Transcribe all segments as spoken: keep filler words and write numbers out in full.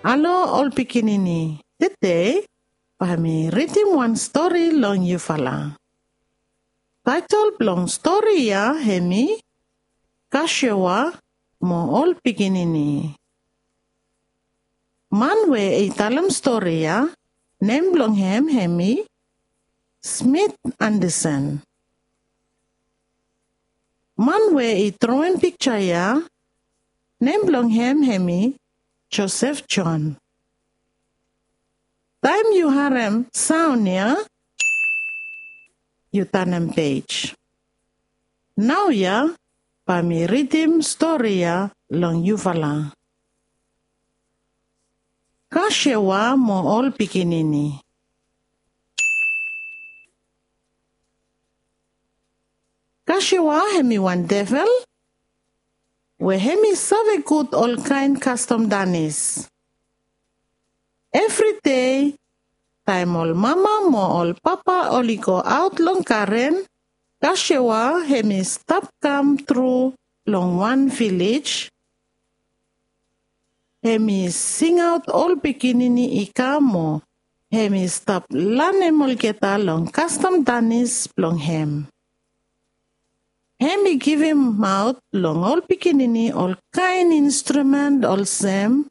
Halo ol pikinini, tede bae mi ridim wan stori long yufala. Taetol blong stori ya hemi Kashewa mo ol pikinini. Man we i talem stori ya, nem blong hem hemi Smith Anderson. Man we i droem pikja ya, nem blong hem hemi Josef John. Taem yu harem saon ya, yu tanem pej. Naoia bae mi ridim stori ya long yufala. Kashewa mo ol pikinini. Kashewa hemi wan devel we hemi save gud olkaen kastom danis. Evri dei taem ol mama mo ol papa oli go aot long garen, Kashewa hemi stap kam tru long wan vilej. Hemi singaot ol pikinini i kam mo hemi stap lanem olgeta long kastom danis blong hem. Hemi givimaot long ol pikinini olkaen instrumen olsem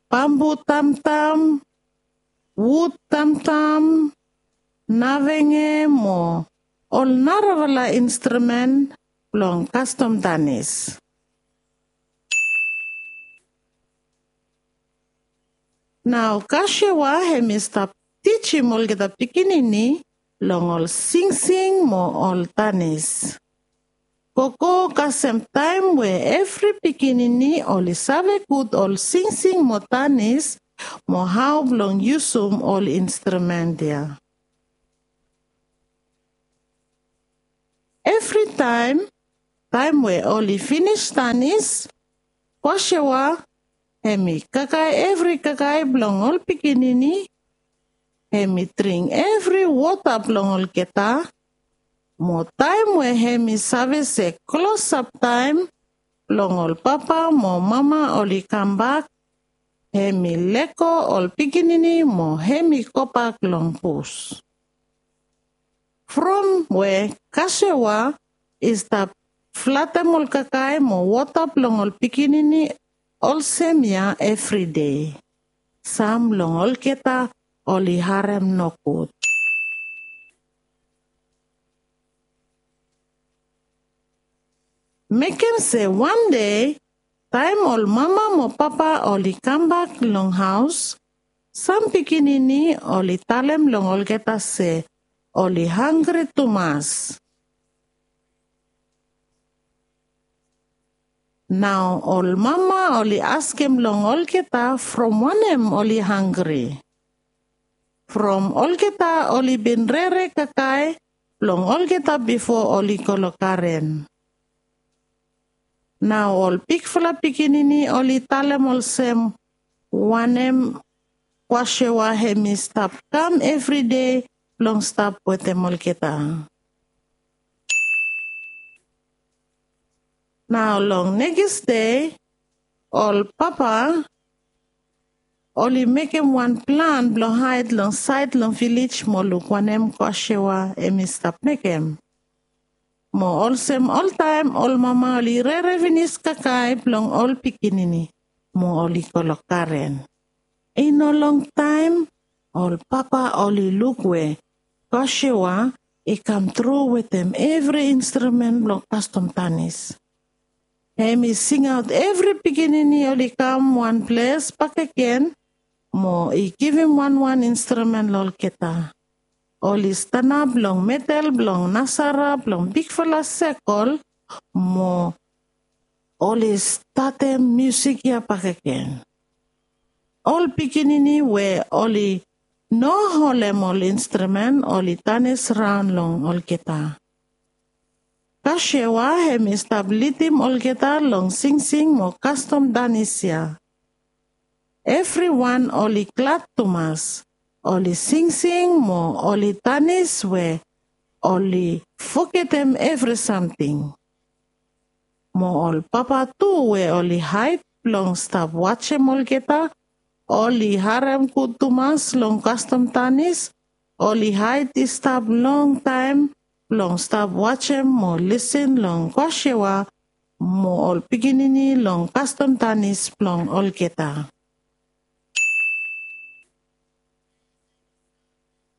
bambu tamtam, wud tamtam, navenge mo ol narafala instrumen blong kastom danis. Nao Kashewa hemi stap tijim olgeta pikinini long ol singsing mo ol danis. Gogo kasem taem we evri pikinini oli save gud ol singsing mo danis mo hao blong yusum ol instrumen ya. Evritaem, taem we oli finis danis, Kashewa hemi kakae evri kakae blong ol pikinini, hemi dring evri wota blong olgeta, mo taem we hemi save se klosap taem blong ol papa mo mama oli kambak, hemi lego ol pikinini mo hemi gobak long bus. From we Kashewa i stap flatem ol kakae mo wota blong ol pikinini olsem ya evri dei, sam long olgeta oli harem nogud. Mekem se wan dei, taem ol mama mo papa oli kambak long haos, sam pikinini oli talem long olgeta se oli hanggri tumas. Nao ol mama oli askem long olgeta from wanem oli hanggri. From olgeta oli bin rere kakae blong olgeta bifo oli go long garen. Nao ol bigfala pikinini oli talem olsem wanem Kashewa hemi stap kam evri dei blong stap wetem olgeta. Nao long nekis dei, ol papa oli mekem wan plan blong haed long saed long vilej mo luk wanem Kashewa hemi stap mekem. Mo olsem oltaem ol mama oli rere finis kakae blong ol pikinini mo oli go long garen. I no longtaem ol papa oli luk we Kashewa i kamtru wetem evri instrumen blong kastom danis. Hemi singaot evri pikinini oli kam wan ples bakegen mo i givim wanwan instrumen long olgeta. Oli stanap long medel blong nasara blong bigfala sekol mo oli statem miusik ya bakegen. Ol pikinini we oli no holem ol instrumen oli danis raon long olgeta. Kashewa hemi stap lidim olgeta long singsing mo kastom danis ya. Evriwan oli glad tumas, oli singsing mo oli danis we oli fogetem evri samting. Mo ol papa tu we oli haed blong stap wajem olgeta, oli harem gud tumas long kastom tanis, oli haid i stap longtaem blong stap wajem mo lisin long Kwashewa mo ol pikinini long kastom tanis blong olgeta.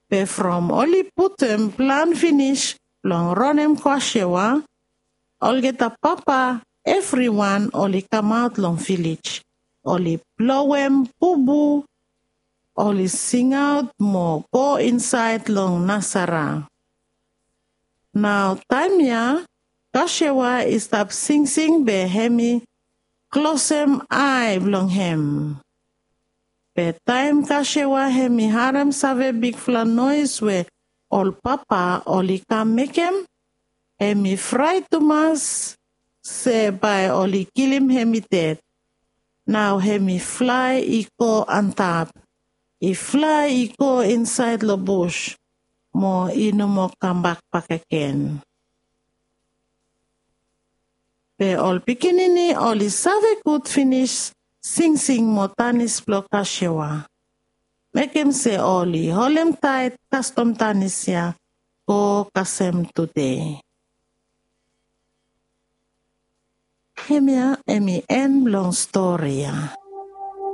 Be from oli putum plan finis blong ronem Kwashewa, olgeta papa evriwan oli kamaot long vilej, oli blowem bubu, oli singaot mo go insaed long nasara. Nao taem ya Kwashewa i stap singsing be hem i klosem ae blong hem. Be taem Kwashewa hem i harem save bigfala noes we ol papa oli kam mekem, hem i fraet tumas se bae oli kilim hem i ded. Nao hem i flae i go antap, i flae i go insaed long bus mo i no moa kambak bakegen. Be ol pikinini oli save gud finis singsing mo tanis blong Kwashewa. Mekem se oli holemtaet kastom tanis ya go kasem tude. Hemia hem i en blong stori ya.